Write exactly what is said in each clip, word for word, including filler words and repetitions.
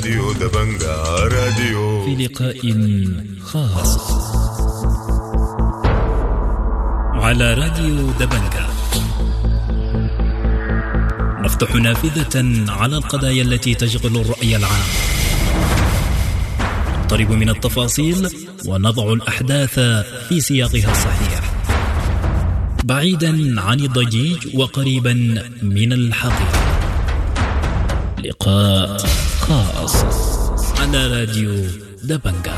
راديو دبنجا راديو في لقاء خاص على راديو دبنجا نفتح نافذة على القضايا التي تشغل الرأي العام، نقترب من التفاصيل ونضع الأحداث في سياقها الصحيح، بعيدا عن الضجيج وقريبا من الحقيقة. لقاء خاص على راديو دبنجا.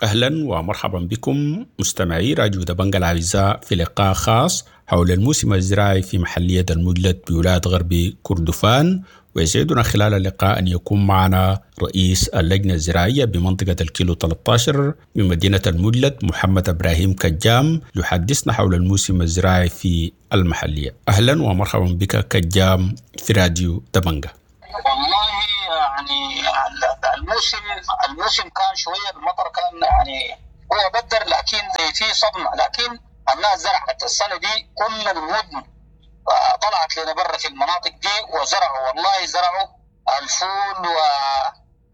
أهلا ومرحبا بكم مستمعي راديو دبنجا الأعزاء في لقاء خاص حول الموسم الزراعي في محلية المجلد بولاية غرب كردفان. ويسعدنا خلال اللقاء أن يكون معنا رئيس اللجنة الزراعية بمنطقة الكيلو ثلاثة عشر بمدينة المجلد محمد إبراهيم كجام، يحدثنا حول الموسم الزراعي في المحلية. أهلا ومرحبا بك كجام في راديو دبنجا. والله يعني الموسم الموسم كان شوية، المطر كان يعني هو بدر، لكن زي في صدمة، لكن الناس زرعت السنة دي كل المدن طلعت لنا برا في المناطق دي وزرعوا، والله زرعوا الفول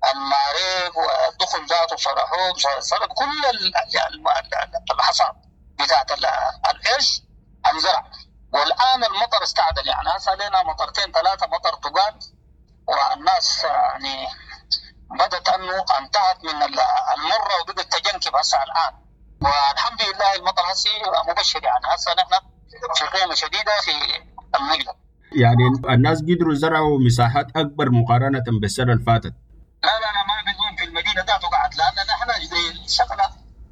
والماريق والدخن ذاته، صرحوه صرح كل الحصاد بتاعت العيش انزرع. والآن المطر استعدل، يعني هسه لنا مطرتين ثلاثة مطر تقال، والناس يعني بدت انه انتهت من المرة وبدت تجنكب هسه الآن، والحمد لله المطر هسه مبشر، يعني هسه نحن في قيمة شديدة في المجلد. يعني الناس قدروا زرعوا مساحات أكبر مقارنة بالسنة اللي فاتت. لا لا لا، ما بيكون في المدينة ذاته قعد، لأن نحن زي الشغلة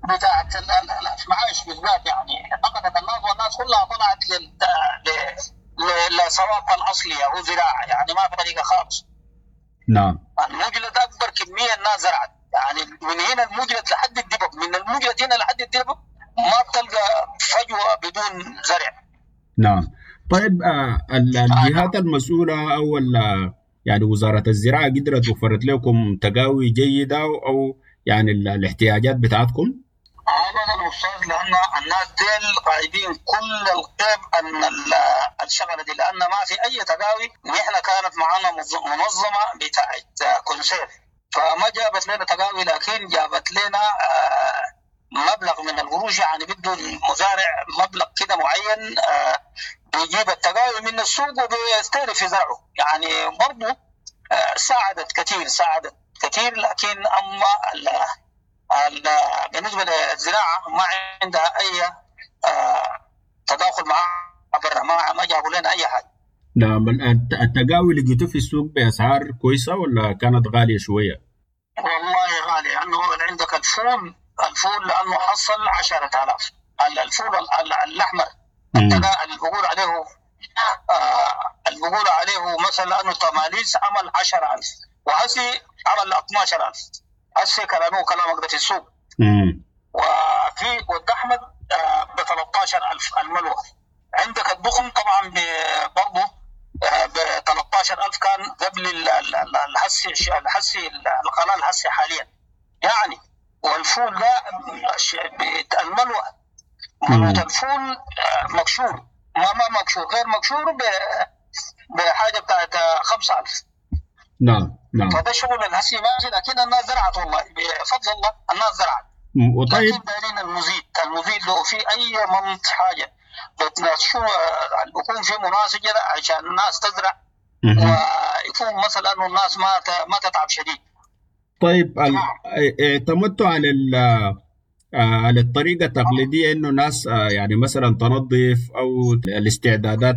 بتاعت المعايش بالذات، يعني فقدت الناس والناس كلها طلعت لل للصواب الأصلية هو زراعة، يعني ما في طريقة خالص. نعم. المجلد أكبر كمية الناس زرعت، يعني من هنا المجلد لحد الدبب، من المجلد هنا لحد الدبب ما بتلقى فجوة بدون زرع. نعم. طيب آه الجهات المسؤولة أو يعني وزارة الزراعة قدرت وفرت لكم تقاوي جيدة أو يعني الاحتياجات بتاعتكم؟ أبدا أستاذ، لأن الناس ديل غايبين كل الغيب أن الشغلة دي، لأن ما في أي تقاوي. نحن كانت معنا منظمة بتاعت كونسير، فما جابت لنا تقاوي، لكن جابت لنا آه مبلغ من القروش، يعني بده المزارع مبلغ كده معين آه بيجيب التقاوي من السوق وبيستهلك في زرعه، يعني برضه آه ساعدت كثير، ساعدت كثير. لكن أما ال ال بالنسبة للزراعة ما عندها أي آه تداخل مع برا، ما ما جابوا لنا أي حاجة. نعم. التقاوي اللي لقيته في السوق بأسعار كويسة ولا كانت غالية شوية؟ والله غالية، لأنه عندك الفول الفول لأنه حصل عشرة آلاف، الفول الأحمر اللي بقول عليه آه اللي بقول عليه مثلا أنه تماليس عمل عشرة ألف، وهسي عمل اثنا عشر ألف، هسي كلامه كلامك ده في السوق. مم. وفي والأحمد آه ب ثلاثة عشر ألف الملوى. عندك الضخم طبعا برضه آه ب ثلاثة عشر ألف كان قبل الحسي الحسي القلال الحسي حاليا يعني. والفول ده الملوى ملوى الفول مكشور، ما ما مكشور غير مكشور بحاجة بتاعت خمسة ألف. نعم نعم. فده شغل الهسي ماشي، لكن الناس زرعت والله بفضل الله الناس زرعت. وطيب لكن دايرين المزيد، المزيد لو في أي منط حاجة بتنشو بيكون في مناسجة عشان الناس تزرع، ويكون مثلا إنه الناس ما ما تتعب شديد. طيب اعتمدتوا على على الطريقة التقليدية إنه ناس يعني مثلا تنظف أو الاستعدادات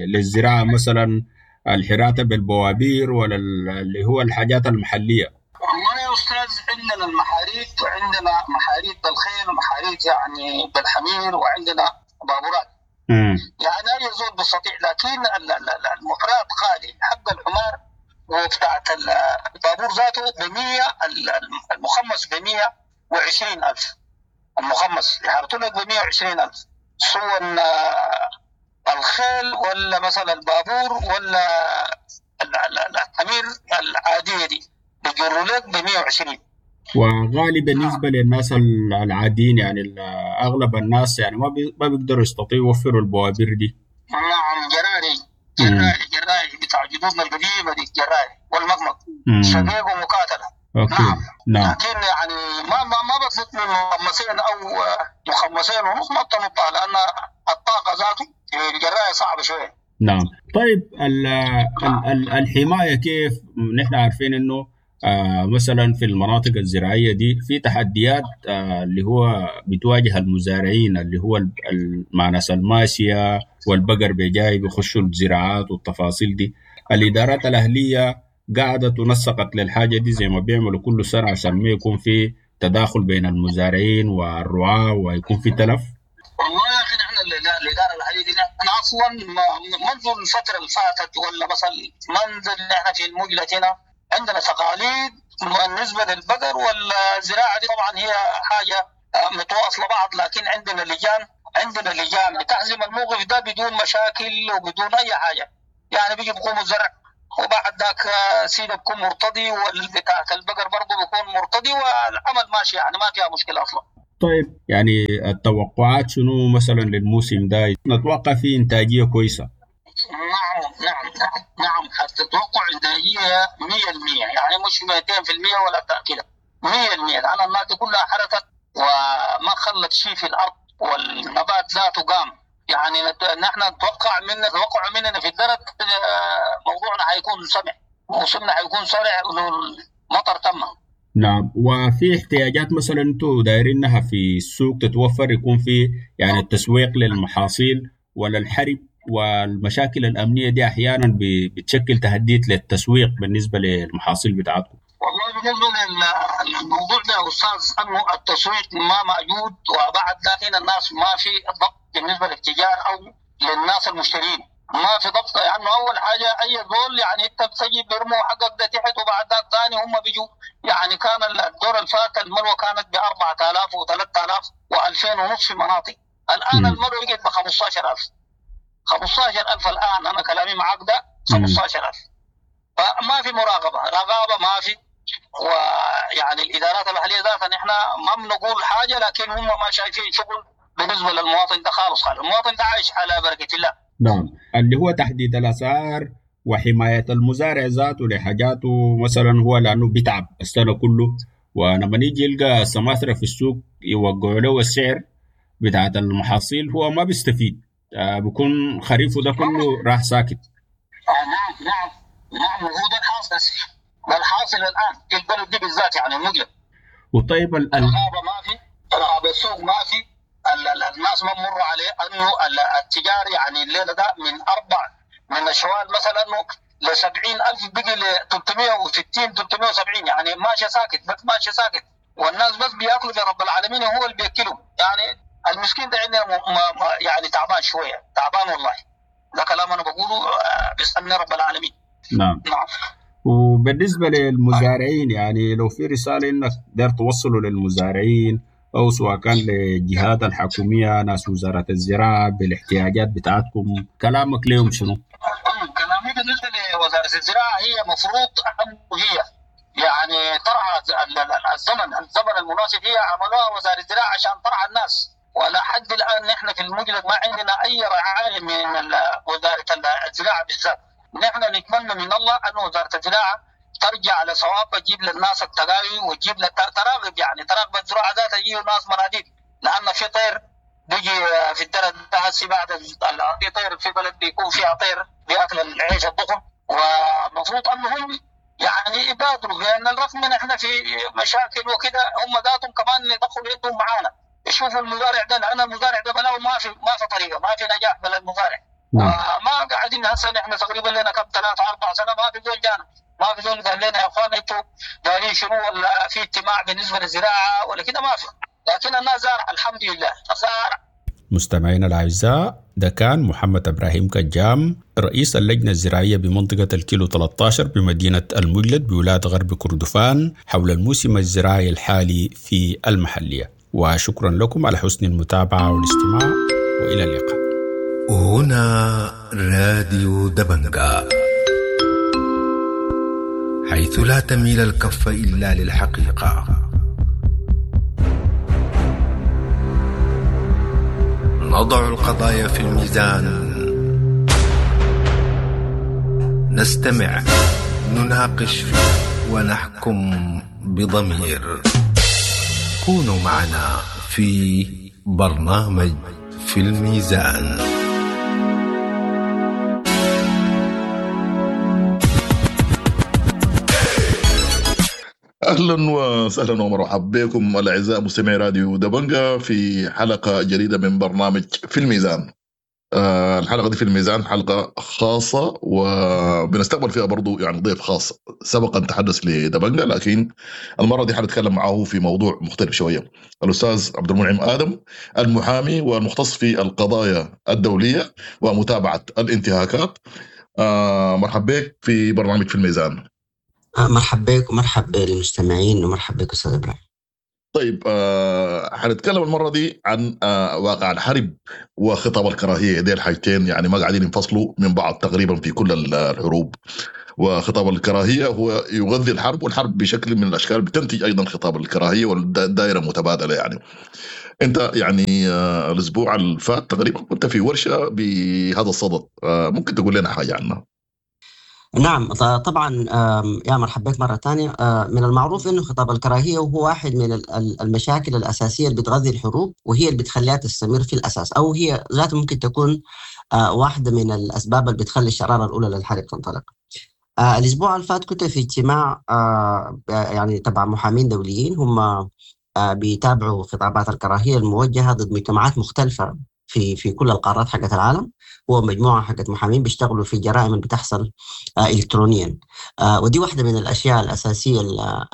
للزراعة، مثلا الحراتة بالبوابير ولا اللي هو الحاجات المحلية؟ والله يا أستاذ عندنا المحاريت، وعندنا محاريت بالخيل ومحاريت يعني بالحمير، وعندنا بابورات. مم. يعني أي زول بستطيع، لكن المحرات غالي، حق الحمار وبتاعت البابور ذاته بمية، المخمس بمية وعشرين ألف، المخمس يحرطوا لك بمية وعشرين ألف، سواء الخيل ولا مثلا البابور ولا الحمير العادية دي بيجروا لك بمية وعشرين. وغالي بالنسبة للناس العاديين، يعني أغلب الناس يعني ما ما بيقدروا يستطيعوا يوفروا البوابير دي. نعم جراري جراري جراري بتاع جدودنا القديمة دي، جراري والمقمق شقيق ومقاتلة. okay. نعم. نعم. لكن يعني ما ما ما بتنط من مخمسين أو مخمسين ونص ما بتنطها، لأن الطاقة ذاته الجراية صعبة شوية. نعم. طيب ال ال ال الحماية كيف؟ نحن عارفين إنه آه مثلا في المناطق الزراعية دي في تحديات آه اللي هو بتواجه المزارعين، اللي هو مع ناس الماشية والبقر بيجاي بيخشوا الزراعات والتفاصيل دي. الإدارات الأهلية قعدت ونسقت للحاجة دي زي ما بيعملوا كل سنة عشان ما يكون في تداخل بين المزارعين والرعاة ويكون في تلف. والله يا أخي نحن الإدارة الأهلية دي نحن أصلا منذ الفترة اللي فاتت ولا مثلا منذ نحن في المجلة هنا عندنا تقاليد بالنسبة للبقر والزراعة دي، طبعا هي حاجة متواصلة بعض، لكن عندنا لجان عندنا لجان بتحزم الموقف ده بدون مشاكل وبدون أي حاجة. يعني بيجي بيقوموا الزرع وبعد ذاك سيده بيكون مرتضي والبتاعة البقر برضه بيكون مرتضي والعمل ماشي، يعني ما فيها مشكلة أصلا. طيب يعني التوقعات شنو مثلا للموسم ده؟ نتوقع فيه إنتاجية كويسة؟ نعم نعم نعم نعم التوقع إنتاجية مية بالمية، يعني مش مئتين في المية ولا كده، مية بالمية، لأن الناس كلها حركت وما خلت شيء في الأرض والنبات ذاته قام. يعني نحن نتوقع من نتوقع مننا في الدرك موضوعنا حيكون سمع، موسمنا حيكون سرع والمطر تم. نعم. وفي احتياجات مثلا انتم دايرينها في السوق تتوفر، يكون في يعني التسويق للمحاصيل ولا الحرب والمشاكل الأمنية دي أحيانا بتشكل تهديد للتسويق بالنسبة للمحاصيل بتاعتكم؟ والله بالنسبة للموضوع ده يا أستاذ أنه التسويق ما موجود، وبعد ذلك الناس ما في ضبط بالنسبة للتجار أو للناس المشترين، ما في ضبط. يعني أول حاجة أي زول يعني أنت بتجي بيرموا حقك ده تحت وبعد ذلك ثاني هم بيجوا. يعني كان الدور الفات الملوى كانت بأربعة آلاف وثلاثة آلاف وألفين ونص في مناطق، الآن الملوى بقت بخمسة عشر ألف، خمسة عشر ألف الآن. أنا كلامي معاك ده خمسة عشر ألف. فما في مراقبة، رقابة ما في. ويعني الإدارات المحلية ذاتها نحن ما بنقول حاجة، لكن هم ما شايفين شغل بالنسبة للمواطن ده خالص خالص. المواطن ده عايش على بركة الله. نعم. اللي هو تحديد الأسعار وحماية المزارع ذاته لحاجاته مثلا، هو لأنه بيتعب السنة كله، ولما يجي يلقى سماسرة في السوق يوقعوا له السعر بتاعت المحاصيل هو ما بيستفيد، آه بيكون خريفه ده كله راح ساكت. آه نعم نعم نعم هو ده الحاصل، ده الحاصل الآن في البلد دي بالذات، يعني المجلس. وطيب ال الغابة ما في، رقابة السوق ما في، الناس ما مروا عليه انه التجار يعني الليله ده من اربع من الشوال مثلا انه ل سبعين ألف بقي ل ثلاثمية وستين ثلاثمية وسبعين، يعني ماشي ساكت بس ماشي ساكت، والناس بس بياكلوا برب العالمين هو اللي بياكلهم. يعني المسكين ده عندنا يعني تعبان شويه، تعبان والله. ده كلام انا بقوله بيسالني رب العالمين. نعم. نعم. وبالنسبه للمزارعين يعني لو في رساله انك داير توصلوا للمزارعين أو سواء كان للجهات الحكومية ناس وزارة الزراعة بالاحتياجات بتاعتكم، كلامك ليهم شنو؟ كلامي بالنسبة لوزارة الزراعة هي مفروض أن هي يعني ترعى الزمن الزمن المناسب، هي عملوها وزارة الزراعة عشان ترعى الناس، ولا حد الآن نحن في المجلس ما عندنا أي رعاية من وزارة الزراعة بالذات. نحن نتمنى من الله أن وزارة الزراعة ترجع لصواب، تجيب للناس التقاوي وتجيب تراغب، يعني تراغب الزراعة ذاتها، تجيب الناس مناديب، لأن في طير بيجي في الدرة هسي بعد في طير في بلد بيكون فيها طير بياكل العيش الضخم، ومفروض أنهم يعني يبادروا، لأن الرغم من إحنا في مشاكل وكده هم ذاتهم كمان يدخلوا يدهم معانا، يشوفوا المزارع ده، لأن المزارع ده بلاو ما في ما في طريقة، ما في نجاح بلا المزارع. نعم. ما قاعدين هسه نحن تقريبا لنا كم ثلاثة أربع سنة ما في زول جانا، ما في زول قال لنا يا اخوان انتوا دارين شنو، ولا في اجتماع بالنسبه للزراعه ولا كده، ما في. لكن الناس زارع الحمد لله زارع. مستمعينا الاعزاء، ده كان محمد ابراهيم كجام رئيس اللجنه الزراعيه بمنطقه الكيلو ثلاثة عشر بمدينه المجلد بولايه غرب كردفان حول الموسم الزراعي الحالي في المحليه. وشكرا لكم على حسن المتابعه والاستماع، والى اللقاء. هنا راديو دبنجا، حيث لا تميل الكف إلا للحقيقة. نضع القضايا في الميزان، نستمع، نناقش، ونحكم بضمير. كونوا معنا في برنامج في الميزان. اهلا وسهلا ومرحبا بكم الاعزاء مستمعي راديو دبنجا في حلقة جديدة من برنامج في الميزان. آه الحلقة دي في الميزان حلقة خاصة، وبنستقبل فيها برضو يعني ضيف خاص سبق ان تحدث لدبنجا، لكن المرة دي حنتكلم معه في موضوع مختلف شوية. الاستاذ عبد المنعم ادم، المحامي والمختص في القضايا الدولية ومتابعة الانتهاكات. آه مرحبا بك في برنامج في الميزان. مرحبا بك ومرحبا بالمستمعين ومرحبا بك استاذ ابراهيم. طيب آه حنتكلم المرة دي عن آه واقع الحرب وخطاب الكراهية. دي الحاجتين يعني ما قاعدين ينفصلوا من بعض تقريبا في كل الحروب. وخطاب الكراهية هو يغذي الحرب، والحرب بشكل من الاشكال بتنتج ايضا خطاب الكراهية، والدائره متبادلة. يعني انت يعني آه الاسبوع اللي فات تقريبا كنت في ورشه بهذا الصدد، آه ممكن تقول لنا حاجة عنها؟ نعم طبعا، يا مرحبا بك مرة ثانية. من المعروف أنه خطاب الكراهية هو واحد من المشاكل الأساسية اللي بتغذي الحروب، وهي اللي بتخليها تستمر في الأساس، أو هي ذاتها ممكن تكون واحدة من الأسباب اللي بتخلي الشرارة الأولى للحرب تنطلق. الأسبوع اللي فات كنت في اجتماع يعني تبع محامين دوليين، هم بيتابعوا خطابات الكراهية الموجهة ضد مجتمعات مختلفة في في كل القارات حقت العالم. هو مجموعة حقت محامين بيشتغلوا في جرائم اللي بتحصل آه الكترونيا، آه ودي واحدة من الاشياء الاساسية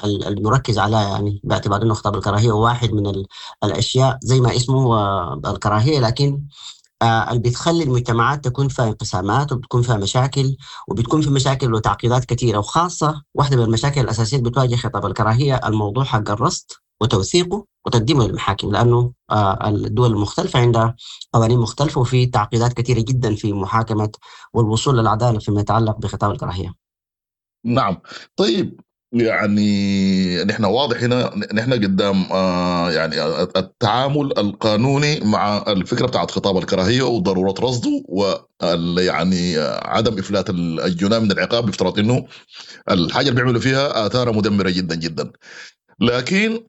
المركز عليها، يعني باعتبار انه خطاب الكراهية واحد من الاشياء زي ما اسمه الكراهية، لكن آه اللي بتخلي المجتمعات تكون فيها انقسامات وبتكون فيها مشاكل، وبتكون في مشاكل وتعقيدات كثيرة. وخاصة واحدة من المشاكل الاساسية اللي بتواجه خطاب الكراهية الموضوع حق الرصد وتوثيقه وتقديمه للمحاكم، لأنه الدول المختلفة عندها قوانين مختلفة وفي تعقيدات كثيرة جدا في محاكمة والوصول للعدالة فيما يتعلق بخطاب الكراهية. نعم طيب، يعني نحن واضح هنا نحن قدام آه يعني التعامل القانوني مع الفكرة بتاعت خطاب الكراهية وضرورة رصده، وال يعني عدم إفلات الجناه من العقاب، بافتراض إنه الحاجة اللي بيعملوا فيها آثارها مدمرة جدا جدا. لكن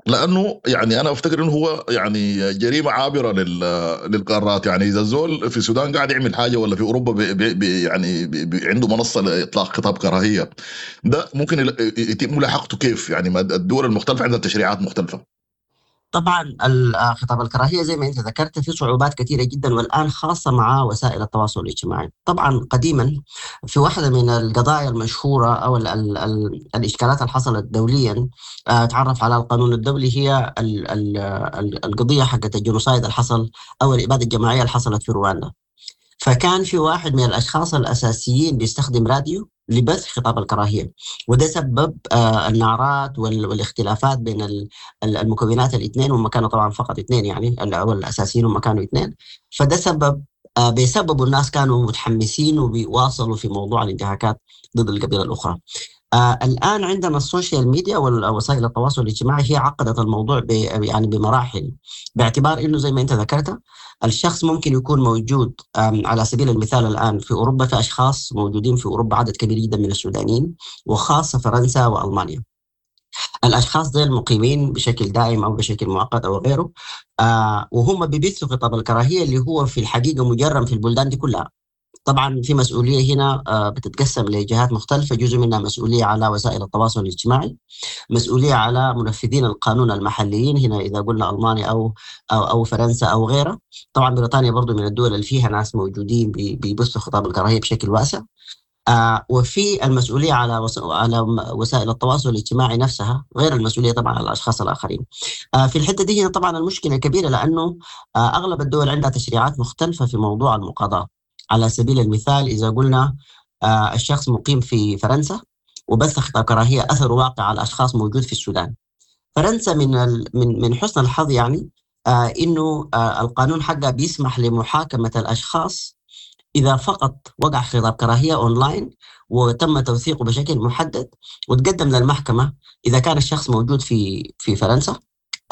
لانه يعني انا افتكر انه هو يعني جريمة عابرة للقارات. يعني اذا الزول في السودان قاعد يعمل حاجة، ولا في اوروبا بي بي يعني بي بي عنده منصة لاطلاق خطاب كراهية، ده ممكن يتم ملاحقته كيف؟ يعني الدول المختلفة عندها تشريعات مختلفة. طبعا خطاب الكراهية زي ما انت ذكرت في صعوبات كثيرة جدا، والان خاصة مع وسائل التواصل الاجتماعي. طبعا قديما في واحدة من القضايا المشهورة او ال ال ال الاشكالات اللي حصلت دوليا تعرف على القانون الدولي، هي ال ال القضية حقت ال genocide اللي حصل او الابادة الجماعية اللي حصلت في رواندا. فكان في واحد من الاشخاص الاساسيين بيستخدم راديو لبث خطاب الكراهية، وده سبب النعرات والاختلافات بين المكونات الاثنين، وهم كانوا طبعا فقط اثنين، يعني او الاساسيين هم كانوا اثنين. فده سبب بسببه الناس كانوا متحمسين وبيواصلوا في موضوع الانتهاكات ضد القبيلة الاخرى. آه الآن عندنا ال social media والوسائل التواصل الاجتماعي هي عقدت الموضوع يعني بمراحل، باعتبار إنه زي ما أنت ذكرت الشخص ممكن يكون موجود. على سبيل المثال الآن في أوروبا في أشخاص موجودين في أوروبا، عدد كبير جدا من السودانيين، وخاصة فرنسا وألمانيا. الأشخاص ديل مقيمين بشكل دائم أو بشكل مؤقت أو غيره، آه وهم بيبثوا خطاب الكراهية اللي هو في الحقيقة مجرم في البلدان دي كلها. طبعا في مسؤولية هنا بتتقسم لجهات مختلفة، جزء منها مسؤولية على وسائل التواصل الاجتماعي، مسؤولية على منفذين القانون المحليين هنا إذا قلنا ألمانيا أو أو أو فرنسا أو غيرها. طبعا بريطانيا برضو من الدول اللي فيها ناس موجودين بيبثوا خطاب الكراهية بشكل واسع. آه وفي المسؤولية على وس... على وسائل التواصل الاجتماعي نفسها، غير المسؤولية طبعا على الأشخاص الآخرين. آه في الحتة دي هنا طبعا المشكلة كبيرة، لأنه آه أغلب الدول عندها تشريعات مختلفة في موضوع المقاضاة. على سبيل المثال إذا قلنا آه الشخص مقيم في فرنسا وبث خطاب كراهية أثر واقع على أشخاص موجود في السودان. فرنسا من ال... من من حسن الحظ يعني آه إنه آه القانون حقها بيسمح لمحاكمة الأشخاص إذا فقط وقع خطاب كراهية أونلاين وتم توثيقه بشكل محدد وتقدم للمحكمة إذا كان الشخص موجود في في فرنسا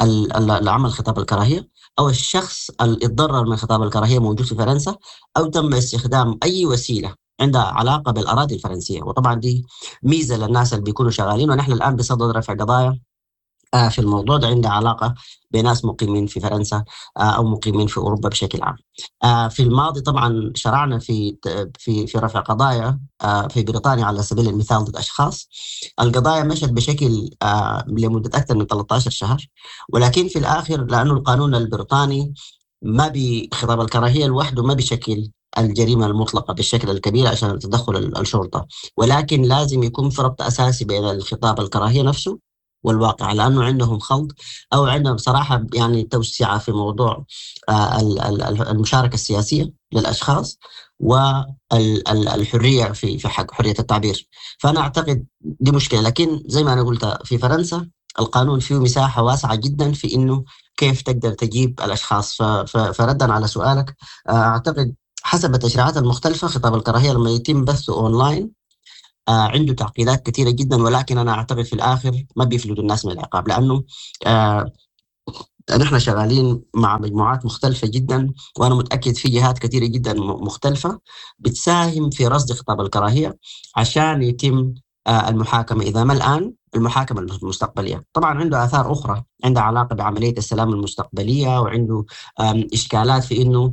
اللي عمل خطاب الكراهية أو الشخص اللي اتضرر من خطاب الكراهية موجود في فرنسا، أو تم استخدام أي وسيلة عندها علاقة بالأراضي الفرنسية. وطبعا دي ميزة للناس اللي بيكونوا شغالين، ونحن الآن بصدد رفع قضايا في الموضوع ده عندها علاقة بناس مقيمين في فرنسا أو مقيمين في أوروبا بشكل عام. في الماضي طبعا شرعنا في في في رفع قضايا في بريطانيا على سبيل المثال ضد أشخاص. القضايا مشت بشكل لمدة أكثر من ثلاثة عشر شهر، ولكن في الآخر لأنه القانون البريطاني ما بخطاب الكراهية لوحده ما بشكل الجريمة المطلقة بالشكل الكبير عشان تدخل الشرطة، ولكن لازم يكون في ربط أساسي بين الخطاب الكراهية نفسه والواقع، لأنه عندهم خلط أو عندهم صراحة يعني توسعة في موضوع المشاركة السياسية للأشخاص والحرية في في حق حرية التعبير. فأنا أعتقد دي مشكلة، لكن زي ما أنا قلت في فرنسا القانون فيه مساحة واسعة جدا في إنه كيف تقدر تجيب الأشخاص. فردا على سؤالك، أعتقد حسب التشريعات المختلفة خطاب الكراهية لما يتم بثه أونلاين آه عنده تعقيدات كثيرة جدا، ولكن أنا أعتقد في الآخر ما بيفلتوا الناس من العقاب، لأنه آه نحن شغالين مع مجموعات مختلفة جدا، وأنا متأكد في جهات كثيرة جدا مختلفة بتساهم في رصد خطاب الكراهية عشان يتم آه المحاكمة، إذا ما الآن المحاكمة المستقبلية. طبعا عنده آثار أخرى عندها علاقة بعملية السلام المستقبلية، وعنده إشكالات في إنه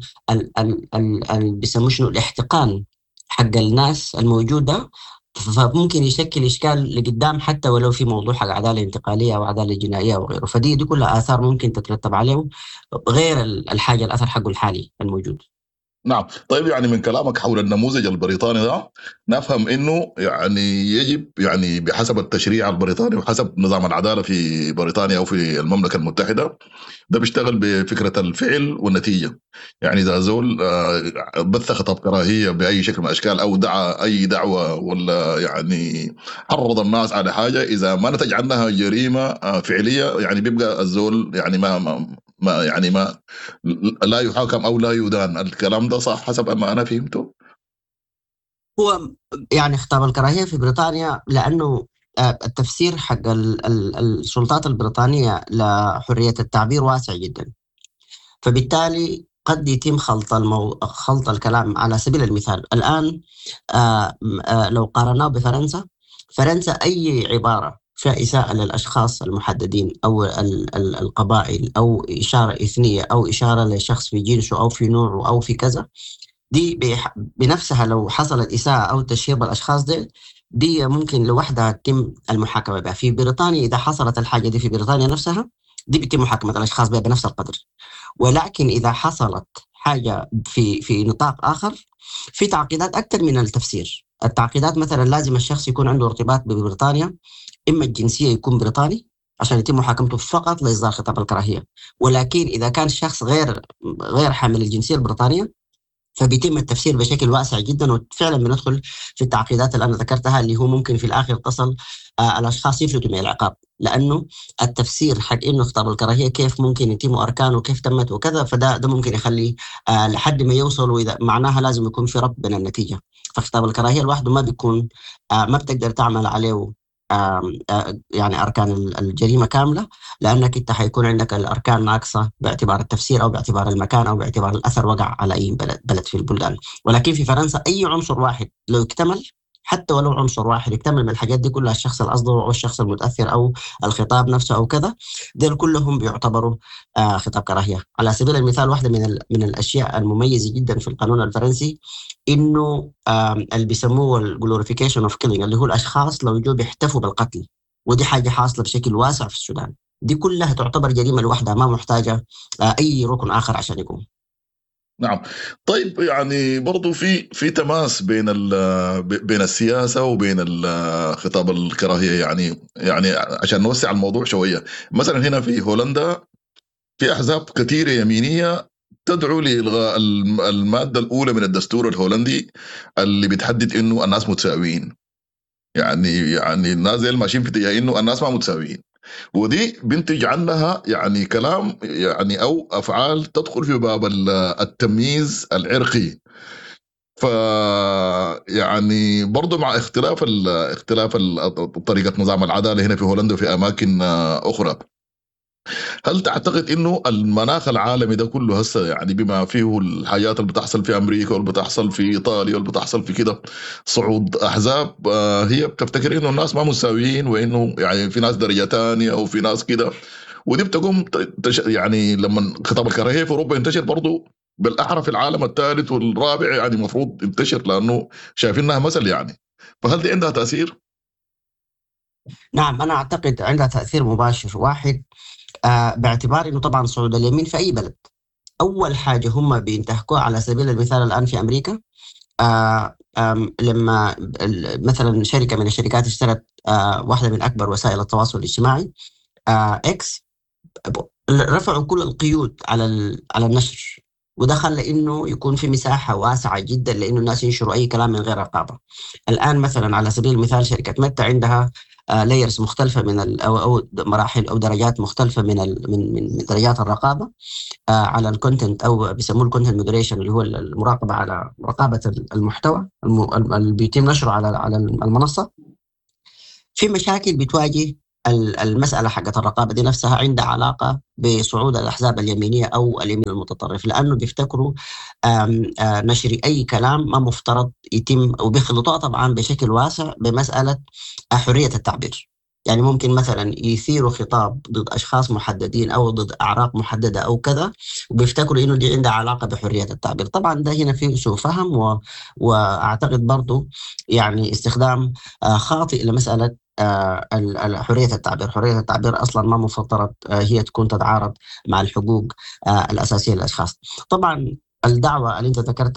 بيسموه شنو الاحتقان حق الناس الموجودة، فممكن يشكل إشكال لقدام حتى ولو في موضوع حق عدالة انتقالية أو عدالة جنائية وغيره. فدي دي كلها آثار ممكن تترتب عليه غير الحاجة الأثر حقه الحالي الموجود. نعم. طيب يعني من كلامك حول النموذج البريطاني ده نفهم انه يعني يجب يعني بحسب التشريع البريطاني وحسب نظام العدالة في بريطانيا او في المملكة المتحدة ده بيشتغل بفكرة الفعل والنتيجة. يعني اذا زول بث خطاب كراهية باي شكل من الاشكال او دعا اي دعوة ولا يعني حرض الناس على حاجة، اذا ما نتج عنها جريمة فعلية يعني بيبقى الزول يعني ما, ما ما يعني ما لا يحاكم أو لا يدان. الكلام ده صح حسب ما أنا فهمته؟ هو يعني خطاب الكراهية في بريطانيا لأنه التفسير حق السلطات البريطانية لحرية التعبير واسع جدا، فبالتالي قد يتم خلط المو... خلط الكلام. على سبيل المثال الآن لو قارناه بفرنسا، فرنسا أي عبارة فيها إساءة للأشخاص المحددين أو القبائل أو إشارة إثنية أو إشارة لشخص في جنسه أو في نوعه أو في كذا، دي بنفسها لو حصلت إساءة أو تشهير بالأشخاص دي دي ممكن لوحدها تتم المحاكمة بها. في بريطانيا إذا حصلت الحاجة دي في بريطانيا نفسها دي بيتم محاكمة الأشخاص بها بنفس القدر، ولكن إذا حصلت حاجة في في نطاق آخر في تعقيدات أكثر من التفسير. التعقيدات مثلا لازم الشخص يكون عنده ارتباط ببريطانيا، إما الجنسية يكون بريطاني عشان يتم محاكمته فقط لإصدار خطاب الكراهية، ولكن إذا كان شخص غير غير حامل الجنسية البريطانية فبيتم التفسير بشكل واسع جدا، وفعلا بندخل في التعقيدات اللي أنا ذكرتها اللي هو ممكن في الآخر تصل آه الأشخاص يفلتوا من العقاب، لأنه التفسير حق إنه خطاب الكراهية كيف ممكن يتم أركانه وكيف تمت وكذا، فده ده ممكن يخلي آه لحد ما يوصل، وإذا معناها لازم يكون في ربط بين النتيجة. فخطاب الكراهية لوحده ما بيكون آه ما بتقدر تعمل عليه يعني أركان الجريمة كاملة، لأنك أنت حيكون عندك الأركان ناقصة باعتبار التفسير أو باعتبار المكان أو باعتبار الأثر وقع على أي بلد, بلد في البلدان. ولكن في فرنسا أي عنصر واحد لو اكتمل، حتى ولو عنصر واحد اكتمل من الحاجات دي كلها، الشخص الأصدر أو الشخص المتأثر أو الخطاب نفسه أو كذا، دول كلهم بيعتبروا خطاب كراهية. على سبيل المثال واحدة من من الأشياء المميزة جدا في القانون الفرنسي إنه اللي بيسموه ال glorification of killing، اللي هو الأشخاص لو جو بيحتفوا بالقتل، ودي حاجة حاصلة بشكل واسع في السودان، دي كلها تعتبر جريمة لوحدها ما محتاجة أي ركن آخر عشان يقوم. نعم. طيب يعني برضو في في تماس بين بين السياسة وبين خطاب الكراهية، يعني يعني عشان نوسع الموضوع شوية، مثلا هنا في هولندا في أحزاب كثيرة يمينية تدعو لإلغاء المادة الأولى من الدستور الهولندي اللي بتحدد إنه الناس متساويين. يعني يعني الناس زي ماشيين في اتجاه إنه الناس ما متساويين، ودي بنتج عنها يعني كلام يعني أو أفعال تدخل في باب التمييز العرقي. ف يعني برضو مع اختلاف ال اختلاف ال طريقة نظام العدالة هنا في هولندا وفي أماكن أخرى. هل تعتقد انه المناخ العالمي ده كله هسه يعني بما فيه الحاجات اللي بتحصل في امريكا واللي بتحصل في ايطاليا واللي بتحصل في كده، صعود احزاب، آه، هي بتفتكر انه الناس ما مساويين، وانه يعني في ناس درجه ثانية وفي ناس كده، ودي بتقوم تش يعني لما خطاب الكراهية في اوروبا ينتشر برضه بالاحرى في العالم الثالث والرابع، يعني المفروض ينتشر لانه شايفينها مثل يعني. فهل دي عندها تاثير؟ نعم، انا اعتقد عندها تاثير مباشر. واحد، آه باعتبار انه طبعا صعود اليمين في اي بلد اول حاجة هم بينتهكوها، على سبيل المثال الان في امريكا، آه لما مثلا شركة من الشركات اشترت آه واحدة من اكبر وسائل التواصل الاجتماعي، آه اكس، رفعوا كل القيود على على النشر، وده خلى انه يكون في مساحة واسعة جدا لانه الناس ينشروا اي كلام من غير رقابه. الان مثلا على سبيل المثال شركة ميتا عندها layers مختلفة من ال او او مراحل او درجات مختلفة من ال من من درجات الرقابة على ال content، او بيسموه ال content moderation، اللي هو المراقبة على مراقبة المحتوى اللي بيتم نشره على على المنصة. في مشاكل بتواجه المسألة حقت الرقابة دي نفسها، عندها علاقة بصعود الأحزاب اليمينية أو اليمين المتطرف، لأنه بيفتكروا نشر أي كلام ما مفترض يتم، وبيخلطوها طبعا بشكل واسع بمسألة حرية التعبير. يعني ممكن مثلا يثيروا خطاب ضد أشخاص محددين أو ضد أعراق محددة أو كذا، وبيفتكروا إنه دي عندها علاقة بحرية التعبير. طبعا ده هنا فيه سوء فهم، و... وأعتقد برضو يعني استخدام خاطئ لمسألة حرية التعبير. حرية التعبير أصلا ما مفترض هي تكون تتعارض مع الحقوق الأساسية للأشخاص. طبعا الدعوة اللي أنت ذكرتها